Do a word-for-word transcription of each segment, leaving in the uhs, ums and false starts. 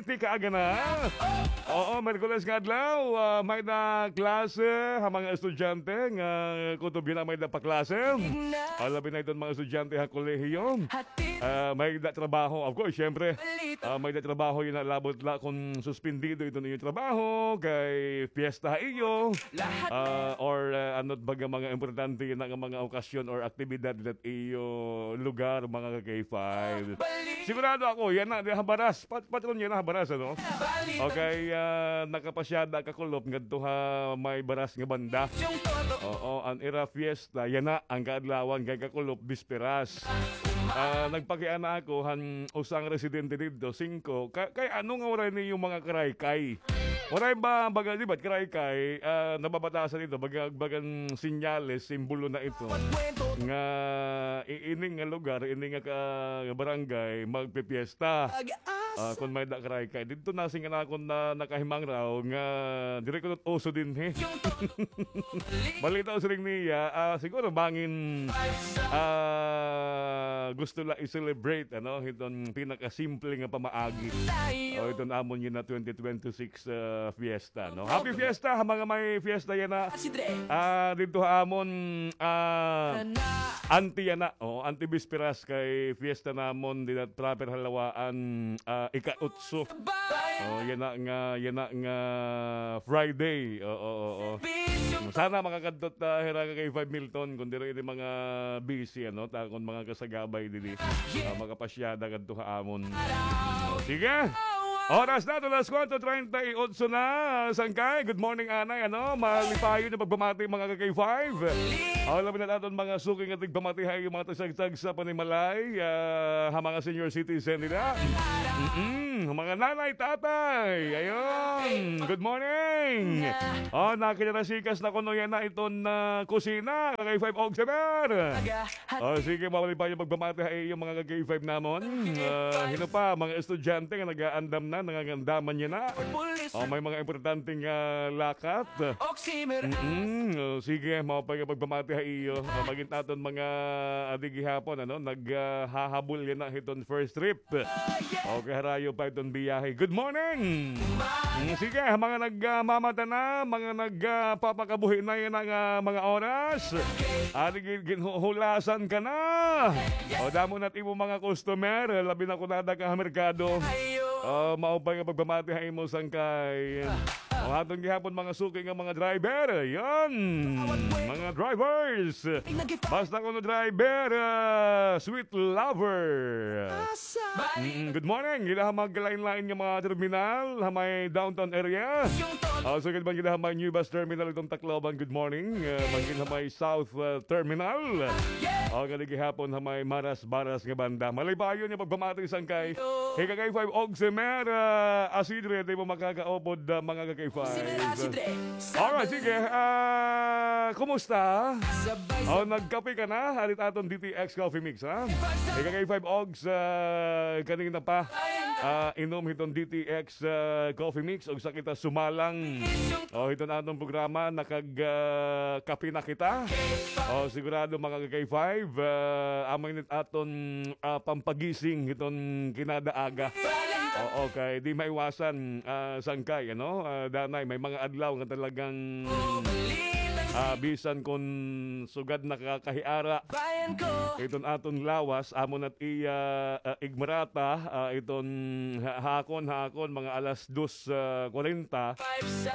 Ti kaaga na. Oo, Miyerkules nga adlaw, ah, may da klase ha mga estudyante nga kutob yana may da pa klase. Ah, labi na iton mga estudyante ha kolehiyo. Ah, may da trabaho, of course, syempre. Ah, may da trabaho yana, labot la kon suspindido iton iyo trabaho, kay fiesta ha iyo. Ah, or, ah, ano baga mga importante yana nga mga okasyon or aktibidad ha iyo lugar, mga ka-K five. Sigurado ako, yana, di ha Baras. Pat-, patron yana ha Baras, ano? Okay, ah, nakapasyada ka kulop ngadto ha may Baras nga banda. Oo, an ira fiesta, yana, an kaadlawan kay ka kulop, bisperas. Ah, nagpakiana ako han usa nga residente didto, singko, ka-, kay ano nga waray niyo mga karaykay? Waray ba, baga, di ba, karaykay, ah, nababatasan ito, baga, bagan senyales, simbolo na ito, nga i-, ini nga lugar, ini nga ka-, barangay, magpipiesta. Ah, kon may da karaykay. Didto na, sing-an akon na nakahimangraw nga diri kuno uso dinhi. Balita ko siring niya, ah, siguro bangin, ah, gusto la i-celebrate, ano, hiton pinakasimple nga pamaagi. O, hiton amon yana twenty twenty-six, ah, fiesta, no? Happy fiesta ha mga may fiesta yana. Ah, didto ha amon, ah, anti yana, o, anti bisperas kay fiesta namon dinhi proper ha Lawaan, ah, ika-otso. O, yana nga, yana nga Friday. Oo, oo, oo. Sana makakadto ta hira ka-K five Milton, kon diri ini mga busy, ano, ta kon mga kasagabay diri. Ah, makapasyada kadto ha amon. Sige. Oras na, alas kuwatro treinta y ocho na. Sangkay, good morning, anay. Ano, malipayon nga pagpamati, mga ka-K five. Aw, labi na aton mga suki nga tigpamati ha iyo mga tagsagtag sa panimalay, ah, ha mga senior citizen nila. Mm-mm, mga nanay, tatay. Ayun, good morning. Oh, nakinarasikas na kuno yana iton, ah, kusina, ka-K five Ogsemer. Oh, sige, mabalik pa yung pagpamati ha iyo mga ka-K five namon. Ah, hino pa, mga estudyante nga nag-aandam na, nangangandaman niya na. Oh, may mga importanteng, ah, lakat. Mm-mm. Oh, sige, maupay nga pagpamati ha iyo. Ah, magin aton mga adi gihapon, ano, nag, ah, hahabol yana hiton first trip. Okay, harayo pa iton biyahe. Good morning! Mm, sige, mga nagmamata na, mga nagpapakabuhi na yana nga mga oras. Adi gin-, ginhuhulasan ka na. O, damo na it imo mga customer, labi na kon ada ka ha merkado. O, maupay nga pagpamati ha imo, sangkay. O, aton gihapon mga suki nga mga driver. Yan. Mga drivers. Basta kuno driver, ah, sweet lover. Mm, good morning. Dida ha magkalain-lain nga mga terminal, ha may downtown area. Ah, sugad man dida ha may New Bus Terminal iton Tacloban, good morning. Ah, magin ha may South, ah, Terminal. O, kadi gihapon ha may Maras Baras nga banda. Malipayon nga pagpamati, sangkay. Hi ka-K five Ogsemer, ah, Asidre, di mo makakaupod, ah, mga ka-K five. Alright, sige. Ah, kumusta? O, nagkape ka na? Arit aton D T X Coffee Mix, ha? Hi ka-K five Ogs, ah, kanina pa. Ah, inom hiton D T X, ah, Coffee Mix. Ugsa kita sumalang. O, hiton aton programa, nakag, ah, kape na kita. O, sigurado, mga ka-K five, ah, amo ini aton, ah, pampagising hiton kinada aga. Oo, kay di maiwasan, ah, sangkay, ano? Ah, danay, may mga adlaw nga talagang, ah, bisan kon sugad na ka kahiara, iton aton lawas, amo na it iya, ah, igmarata, ah, iton ha-, hakon, hakon, mga alas dos, ah, kwarenta.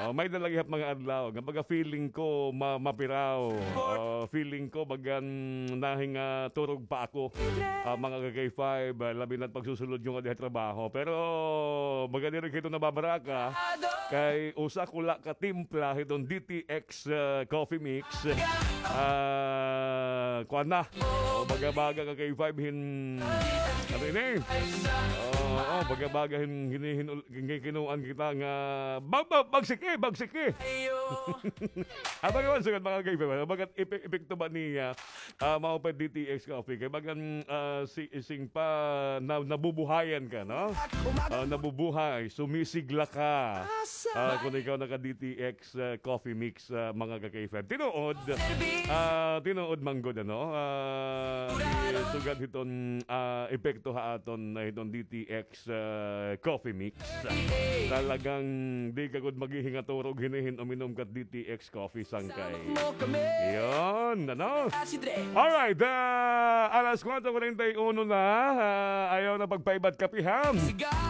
O, may da la gihap mga adlaw nga baga feeling ko ma-, mapiraw. O, feeling ko bagan nahingaturog pa ako. Ah, mga ka-K five, ah, labi na it pagsusulod niyo nga diha trabaho. Pero baga diri kay ito nababaraka, kay usa ko la ka timpla hiton D T X, ah, Coffee Mix. Ah, kuan na. O, baga-baga ka-K five hin, ano ini? Oo, baga-baga hin, hin, hin, hin, kinuan kita nga, bag-, bag-, bagsiki, bagsiki. Abang naman, sugad, mga ka-K five, ano? Bagat epe-, epekto ba niya, ah, mao pa D T X Coffee? Kay bagan, ah, si, sing pa, na, nabubuhayan ka, no? Ah, nabubuhay, sumisigla ka. Ah, kung ikaw naka-D T X, ah, Coffee Mix, ah, mga ka-K five. Tinuod, ah, tinuod man gud, ano, ah, sugad hiton, ah, epekto ha aton, ah, hiton D T X, ah, Coffee Mix. Talagang di ka gud maghihingaturog hin-o hin uminom ka D T X Coffee, sangkay. Yun, ano? Alright, ah, alas kuwatro kuwarenta y uno na, ah, ayaw na pagpaibat kape, ha?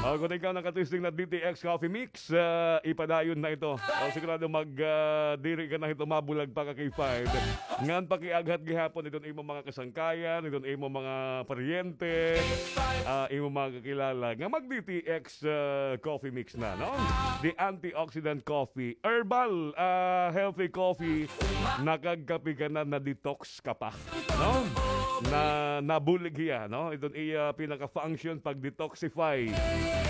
O, kung ikaw nakatesting na D T X Coffee Mix, ah, ipadayon na ito. O, sigurado mag, ah, diri ka na hito mabulag pa ka K five. Ngan pakiaghat gihapon iton imo mga kasangkayan, iton imo mga paryente, ah, imo mga kakilala nga mag D T X, ah, coffee mix na, no? The antioxidant coffee, herbal, ah, healthy coffee, nakagkape ka na, na-detox ka pa, no? Na, nabulig hiya, no? Iton iya pinaka-function pag-detoxify,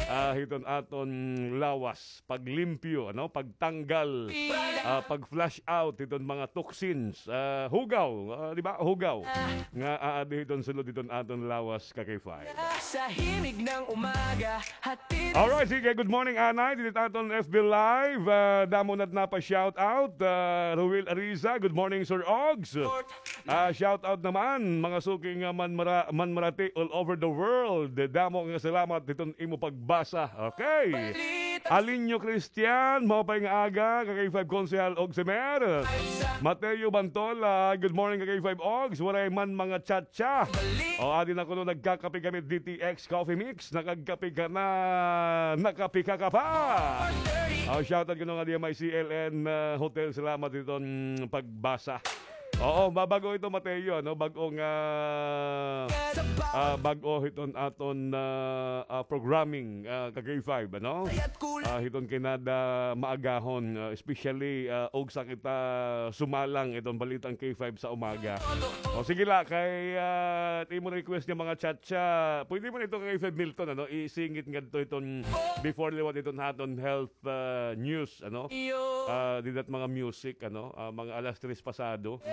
ah, hiton aton lawas, paglimpyo, ano, pagtanggal, ah, pag-flush out hiton mga toxins, ah, hugaw, ah, di ba? Hugaw nga aadi hiton sulod hiton aton lawas ka K five. Sa himig ng umaga, hatid. Alright, sige, good morning, Anay. Didi ha aton F B Live, ah, damo na't napa-shout out, ah, Ruel Ariza, good morning, Sir Ogs. Ah, shout out naman, mga suking, ah, manmara-, manmarati all over the world. Damo nga salamat hiton imo pagbasa. Okay. Alinyo Christian, maupay nga aga, ka K five Konsehal Ogs Emer. Mateo Bantola, good morning, ka K five Ogs. Waray man mga chat siya. O, adi na kuno, nagkakape kami, D T X Coffee Mix. Nakagkape ka na, nakape ka ka pa. O, shoutout kuno nga diya may C L N, ah, Hotel. Salamat hiton pagbasa. Oo, mabago ito, Mateo, no? Bag-o nga, ah, bag-o hiton aton, ah, ah, programming, ah, ka K five, ano? Ah, hiton kinada maagahon, ah, especially, ah, og sa kita sumalang iton balitang K five sa umaga. O, sige la, kay, ah, imo request nga mga chat siya. Pwede man ito kay Fred Milton, ano? Isingit ngadto iton before liwat iton haton health, ah, news, ano? Ah, dida it mga music, ano? Ah, mga alas tres pasado.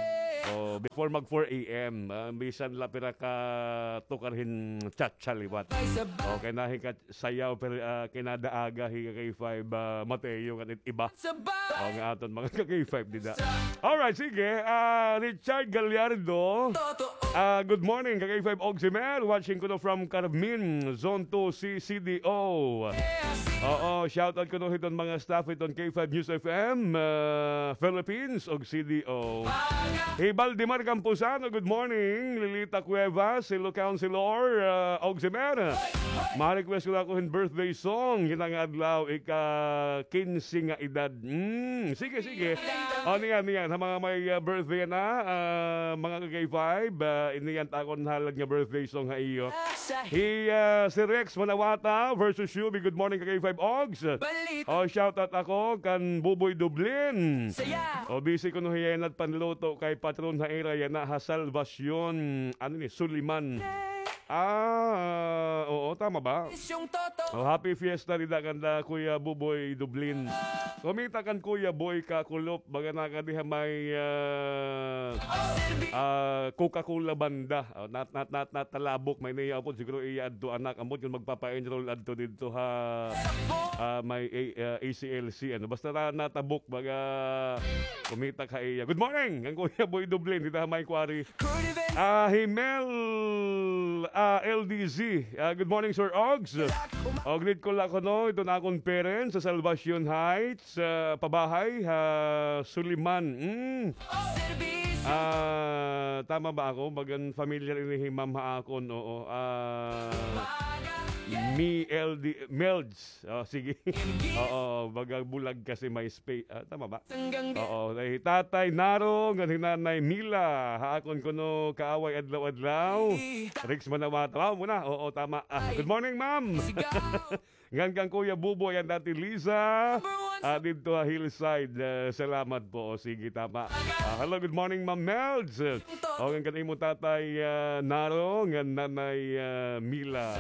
O, before mag four A M, ah, bisan la pira ka tukar hin chat siya liwat. Okay, nahi ka sayaw, pero, ah, kinada aga hi ka K five, ah, Mateo, kan it iba. O, nga aton mga ka K five dida. Alright, sige. Ah, Richard Gallardo. Ah, good morning, ka K five Ogs Emer. Watching kuno from Carmen, Zone two C C D O. Oo, shout out kuno hiton mga staff hiton K five News F M, ah, Philippines, og C D O. Hi Valdemar Camposano, good morning. Lilita Cuevas, Ilocan, Silor, ah, Ogs Emer. Ma-request ko la ako hin birthday song, hina nga adlaw, ika-kinse nga edad. Mm, sige, sige. O, niyan, niyan. Ha mga may, ah, birthday na, ah, mga ka K five, ah, iniyan ta akon halad nga birthday song ha iyo. Hi, ah, si Rex Manawata versus Shubi. Good morning, ka K five Ogs. O, shout out ako kan Buboy Dublin. O, busy kuno hiya yana panluto kay patron ha ira yana ha Salvacion. Ano ni, Suliman. Ah, oo, tama ba? O, happy fiesta dida kanda Kuya Buboy Dublin. Kumita kan Kuya Boy Kakulop, baga na ka diha may, ah, ah, Coca-Cola banda. O, nat-, nat-, nat-, natalabok, may niya po, siguro iya adto anak, ambot kun magpapa-enroll adto didto ha, ah, may A-, ah, A C L C, ano. Basta na, natabok, baga kumita ka iya. Good morning, kan Kuya Boy Dublin, dida ha may quarry. Ah, hi Mel, ah, L D Z. Ah, good morning, Sir Ogs. O, greet ko la kuno iton akon parents sa Salvacion Heights, ah, pabahay ha Suliman. Mm. Ah, tama ba ako? Bagan familiar ini hi Ma'am ha akon, oo. Ah, Mi L D, Melds. O, sige. Oo, baga bulag kasi may space. Ah, tama ba? Oo, hi Tatay Naro, ngan hi Nanay Mila, ha akon kuno kaaway adlaw-adlaw. Rex Manawata. Wow, muna. Oo, tama. Ah, good morning, ma'am. Ngan kan Kuya Buboy, an Ate Liza. Ah, didto ha Hillside. Ah, salamat po. O, sige, tama. Ah, hello, good morning, Ma'am Melds. O, ngan kan imo tatay, ah, Naro, ngan nanay, ah, Mila.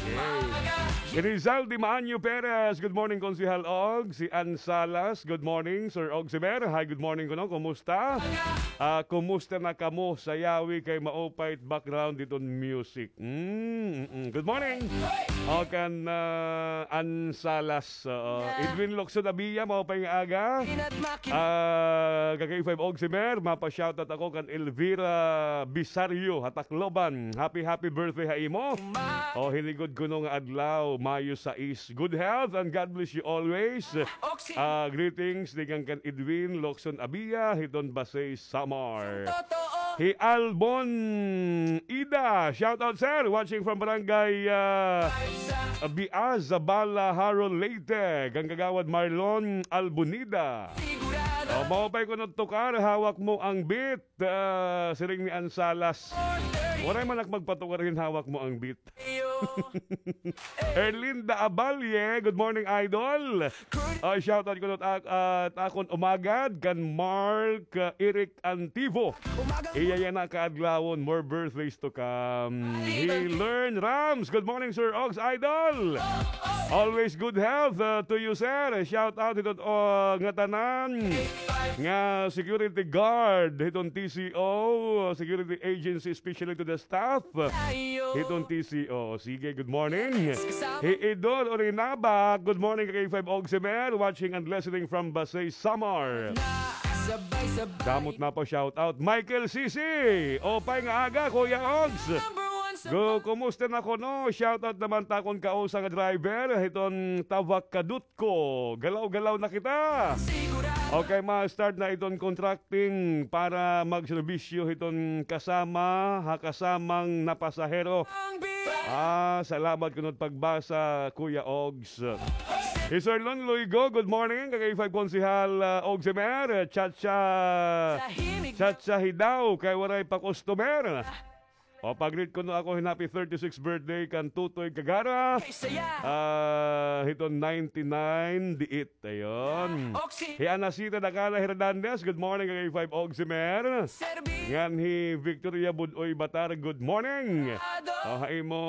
Okay. Rizal Di Maanyo Perez, good morning, Konsehal Og. Si Ann Salas, good morning, Sir Og Simer. Hi, good morning kuno. Kumusta? Ah, kumusta na kamo? Sayawi kay maupay it background diton music. Mm, mm, mm. Good morning. O, kan, ah, Ann Salas, oo. Edwin Locso, Iya, maupay nga aga. Ah, ka K five Oximer, mapa-shoutout ako kan Elvira Bisario ha Tacloban. Happy, happy birthday ha imo. O, hinigod kuno nga adlaw, Mayo sais. Good health and God bless you always. Ah, greetings, tikang kan Edwin Locson Abia, hiton Basey, Samar. Hi Albon Ida, shout out, sir. Watching from Barangay, ah, Biaz, Zabala, Jaro, Leyte. Kan Kagawad Marlon Albonida. O, maupay kuno tukar, hawak mo ang beat. Ah, siring ni Ansalas. Waray man ak magpatukar hin hawak mo ang beat. Erlinda Aballe, good morning, idol. Ah, shout out kuno ha ak-, ah, ha akon umagad kan Mark, ah, Eric Antivo. Iya yana kaadlawon, more birthdays to come. Hi Learn Rams, good morning, Sir Ogs, idol. Always good health, ah, to you, sir. Shout out hiton, ah, ngatanan nga security guard hiton T C O, security agency, especially to the staff hiton T C O. Sige, good morning. Hi Idol Orinaba, good morning ka K five Oximer, watching and listening from Basey, Samar. Damo it napa-shout out. Michael Sisi, upay nga aga, Kuya Ogs. Gu-, kumusta na kuno? Shout out naman ha akon kausa nga driver hiton Tawak Kadut ko. Galaw-galaw na kita. Okay, ma-start na iton contracting para magserbisyo hiton kasama, ha kasamang napasahero. Ah, salamat kuno it pagbasa, Kuya Ogs. Hi Sir Lon Luigo, good morning. Ka K five Konsehal, ah, Ogs Emer, Chacha, Chacha Hidaw, kay waray pa customer. O, pa-greet kuno ako hin happy thirty-six birthday kan Tutoy Kagara. Ah, hiton ninety-nine, diit. Ayon. Hi Anacita Dakala Hernandez, good morning, K five Oximer. Ngan hi Victoria Budoy Batar, good morning. O, ha imo,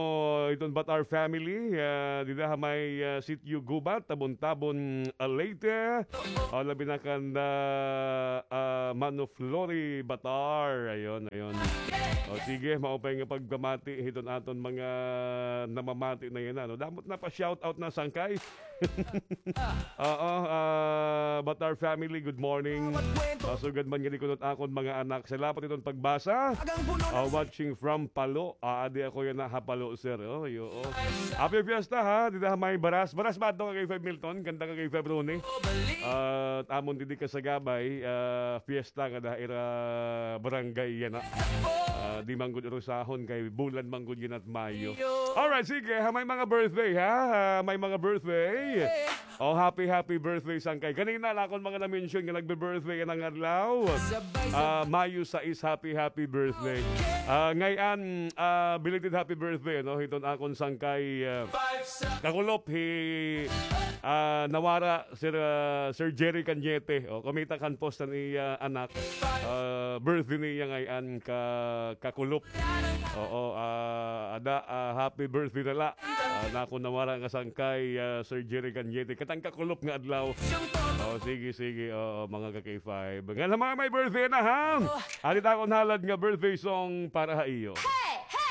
hiton Batar family, ah, dida ha may, ah, Sitio Gubat, Tabon-Tabon, ah, Leyte. O, labi na kan, ah, ah, Mano Flory Batar. Ayon, ayon. O, sige, maupay nga pagpamati hiton aton mga namamati na yana, no? Damo it napa-shout out na, sangkay. Oo, ah, Batar family, good morning. Ah, sugad man gani kuno it akon mga anak. Salamat hiton pagbasa. Ah, watching from Palo. Ah, adi ako yana ha Palo, sir. O, yo, o. Happy fiesta, ha? Dida ha may Baras. Baras ba adto, ka K five Milton? Kanta ka K five Ronnie. Ah, amon didi kasagabay, ah, fiesta ngada ha ira barangay yana. Ah, di man gud urusahon kay bulan man gud yana it Mayo. Alright, sige, ha may mga birthday, ha? Ha may mga birthday. O, happy, happy birthday, sangkay. Kanina la akon mga na-mention nga nagbe-birthday yana nga adlaw. Ah, Mayo sais, happy, happy birthday. Ah, ngay-an, ah, belated happy birthday, no? Hiton akon sangkay, ah, kakulop hi, ah, nawara, Sir, ah, Sir Jerry Cañete. O, kumita kan post han iya anak. Ah, birthday niya ngay-an ka, kakulop. Oo, ah, ada, ah, happy birthday na la. Ah, han akon nawara nga sangkay, ah, Sir Jerry Cañete. Katang kakulop nga adlaw. O, sige, sige. Oo, mga ka K five. Ngan ha mga may birthday na, ha? Adi it akon halad nga birthday song para ha iyo.